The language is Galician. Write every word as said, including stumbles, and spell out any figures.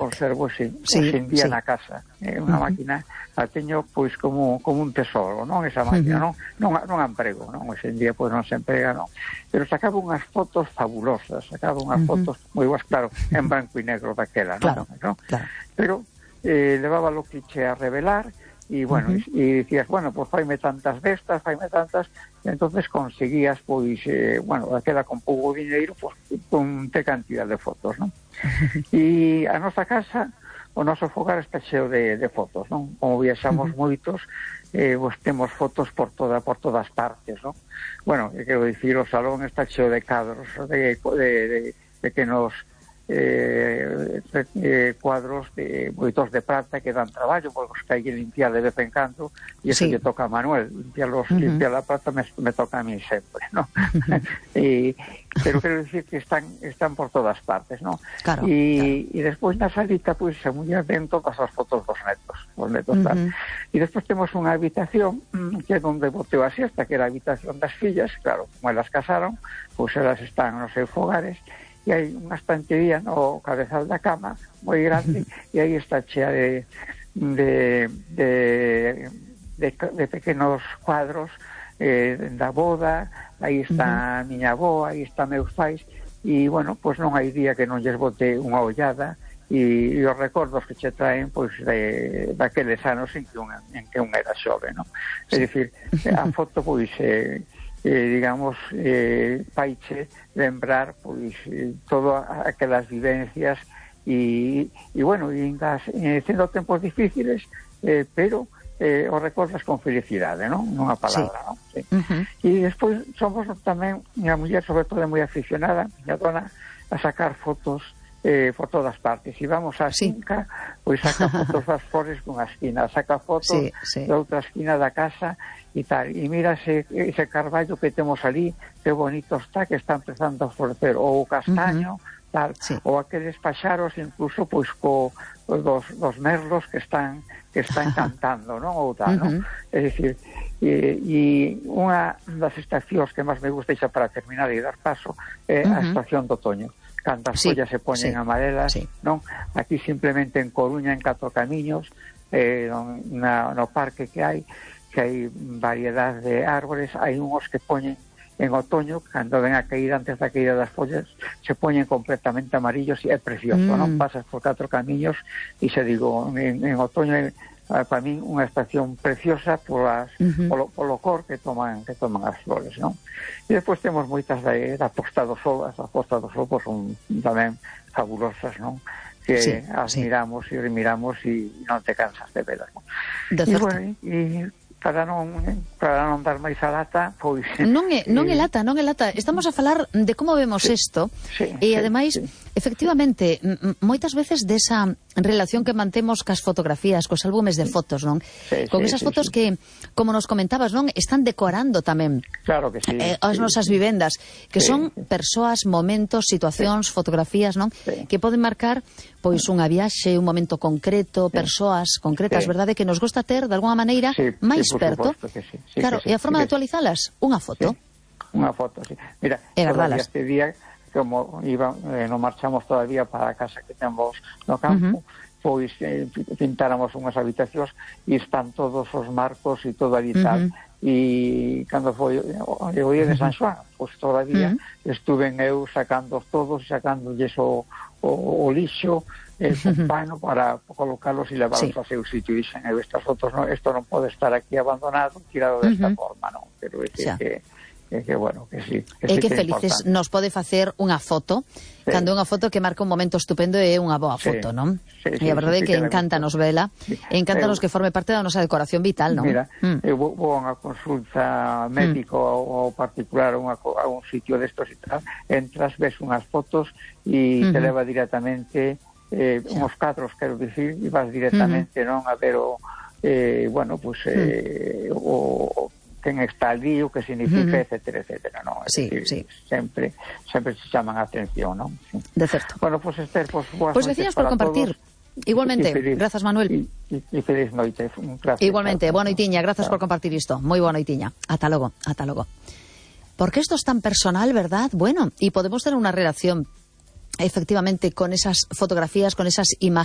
conservo sin, sí, sin día sí. na casa. É unha uh-huh. máquina, a teño pois como como un tesoro, non? Esa máquina, uh-huh. non, non, non a emprego, non? Hoxe en día pois non se emprega, non? Pero sacaba unhas fotos fabulosas, sacaba unhas uh-huh. fotos moi boas, claro, en branco e negro daquela, claro, non? ¿no? Claro. Pero eh, levaba lo cliché a revelar, e, bueno, uh-huh. e, e dicías, bueno, pues faime tantas destas, faime tantas, e entonces conseguías, pois, eh, bueno, aquela con pouco diñeiro, pues, con te cantidad de fotos, non? E a nosa casa, o noso fogar está cheo de, de fotos, non? Como viaxamos uh-huh. moitos, eh, pues, temos fotos por toda por todas partes, non? Bueno, quero dicir, o salón está cheo de cadros, de, de, de, de que nos... Eh, eh, cuadros de moitos de prata que dan traballo porque os que hai que limpiar de vez en cando e eso sí. lle toca a Manuel limpiar, los, uh-huh. limpiar la prata me, me toca a mí sempre, ¿no? Uh-huh. e, pero quero dicir que están están por todas partes, ¿no? Claro, e, claro. e despois na salita pois se muller den todas as fotos dos netos os netos uh-huh. tal. E despois temos unha habitación que é onde boteo a siesta, que era a habitación das fillas, claro, como elas casaron pois elas están nos seus fogares e hai unha estantería no cabezal da cama moi grande e aí está chea de de, de, de, de pequenos cuadros eh, da boda, aí está uh-huh. a miña avó, aí está meus pais e, bueno, pois non hai día que non lles bote unha ollada e, e os recordos que che traen pois de, daqueles anos en que un, en que un era xove, non? É dicir, a foto pois eh, Eh, digamos, eh, paiche lembrar pois eh, todas aquelas vivencias e, e bueno, e das, eh, sendo tempos difíciles eh, pero eh, os recordas con felicidade, non? Nunha palabra, sí. non? Sí. Uh-huh. E despois somos tamén, minha muller sobre todo é moi aficionada, miña dona, a sacar fotos eh, por todas partes. E vamos á sí. finca, pois saca fotos das flores dunha esquina, saca fotos sí, sí. da outra esquina da casa e tal. E mira ese, ese carballo que temos ali, que bonito está, que está empezando a florecer, ou o castaño, uh-huh. tal, sí. ou aqueles paxaros, incluso, pois, co, dos, dos merlos que están que están cantando, non? Ou tal, uh-huh. non? É dicir, e, e unha das estacións que máis me gusta, xa para terminar e dar paso, é uh-huh. a estación do otoño. Cando as sí, follas se poñen sí, amarelas, sí. non? Aquí simplemente en Coruña, en Catro Camiños, eh, na, no parque que hai, que hai variedade de árbores, hai unhos que poñen en otoño, cando ven a caída, antes da caída das follas, se poñen completamente amarillos e é precioso, mm. non? Pasas por Catro Camiños e se digo, en, en otoño é para min unha estación preciosa polas, uh-huh. polo, polo cor que toman que toman as flores, non? E despois temos moitas da, da Posta do Sol, as da Posta do Sol pois son tamén fabulosas, non? Que sí, as sí. miramos e remiramos e non te cansas de velas, non? De e bueno, e para non para non dar máis a lata, pois non é non é lata, non é lata. Estamos a falar de como vemos isto sí, sí, e sí, ademais, sí. efectivamente, moitas veces desa relación que mantemos cas fotografías, cos álbumes de fotos, non? Sí, con sí, esas sí, fotos sí. que, como nos comentabas, non, están decorando tamén. Claro que sí. Eh, as sí, nosas sí. vivendas, que sí, son sí. persoas, momentos, situacións, sí. fotografías, non? Sí. Que poden marcar pois unha viaxe, un momento concreto, sí. persoas concretas, sí. verdade, que nos gusta ter de alguma maneira sí, máis sí, perto. Que sí. Sí, claro, que sí, e a forma sí, de actualizalas, unha foto. Sí. Unha foto, sí. Mira, e todavía guardalas. este día, como iba, eh, non marchamos todavía para a casa que temos no campo, uh-huh. pois eh, pintáramos unhas habitacións e están todos os marcos e todo ali tal. Uh-huh. E cando foi o día de San Xoán, pois todavía uh-huh. estuve eu sacando todos, sacándolles o, o, o lixo, el uh-huh. pano para colocarlos e levarlos sí. a seu sitio. E dixen, eu estas fotos, no, isto non pode estar aquí abandonado, tirado desta uh-huh. forma, non? Pero decir que, que, que, bueno, que sí. Que e sí que, que felices importante. nos pode facer unha foto, sí. cando unha foto que marca un momento estupendo e unha boa foto, sí. non? Sí, sí, e a verdade é sí, sí, que, que encántanos vela, sí. encántanos eu, que forme parte da nosa decoración vital, non? Mira, mm. eu vou, vou a unha consulta médico mm. ou particular a, a un sitio destos e tal, entras, ves unhas fotos e mm-hmm. te leva directamente eh, sí. uns cadros, quero dicir, e vas directamente mm-hmm. non a ver o eh, bueno, pues eh, mm. o quen está ali, o que significa, uh-huh. etcétera, etcétera, non? É sí, decir, sí. sempre sempre se chaman a atención, non? Sí. De certo. Bueno, pues Esther, pues boas pues noites por compartir. Todos. Igualmente, grazas Manuel. E feliz noite. Gracias. Igualmente, boa noitiña, grazas por compartir isto. Moi boa noitiña. Ata logo, ata logo. Porque esto es tan personal, ¿verdad? Bueno, y podemos tener una relación efectivamente con esas fotografías, con esas imágenes.